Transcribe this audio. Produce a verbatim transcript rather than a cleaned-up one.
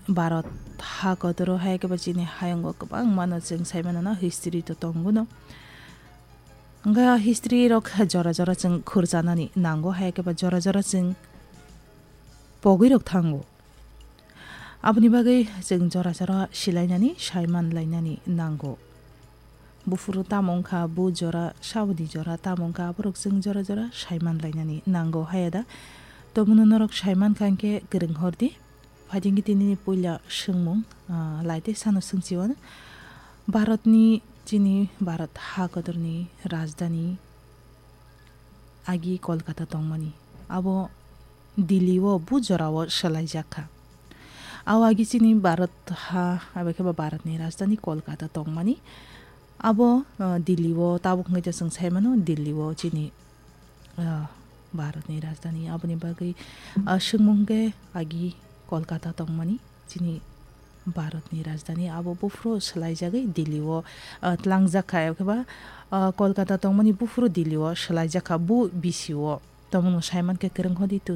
Bharat ha kotoro hai khe ba chini hayungo kwbangma no chwng sai mano na history to tongo no. Hwnkhe o history rok jora jora chwng khurchanani nango, hai khe ba jora jora chwng pogwi rok thango. Aboni bagwi chwng jora jora silainani, saiman lainani nango. Buphuru tamo wngkha, bu jora, saboni jora tamo wngkha, aborok chwng jora jora saiman lainani nango, haya da? Tomono norok saiman kha hwnkhe kwrwng hor di. Phaidi hwnkhe tinini puila swngmung, ah, lai tei sano swngchio. Bharatni, chini Bharat ha kotorni rajdhani agi Kolkata tongmani. Abo Delhi o bu jorao swlaijak kha. Abo agi chini Bharat ha, abo khe ba Bharatni rajdhani Kolkata tongmani. Abo, ah, Delhi o tabuk hwnkhe chwng sai mano, Delhi o chini, ah, Bharatni rajdhani. Aboni bagwi, ah, swngmung khe agi Kolkata tongmani chini Bharatni rajdhani abo buphuru swlaijagwi Delhi o, ah, tlangjak kha, eba khe ba, ah, Kolkata tongmani buphuru Delhi o swlaijak kha, bu bisi o. Tomono saiman khe kwrwng hodi to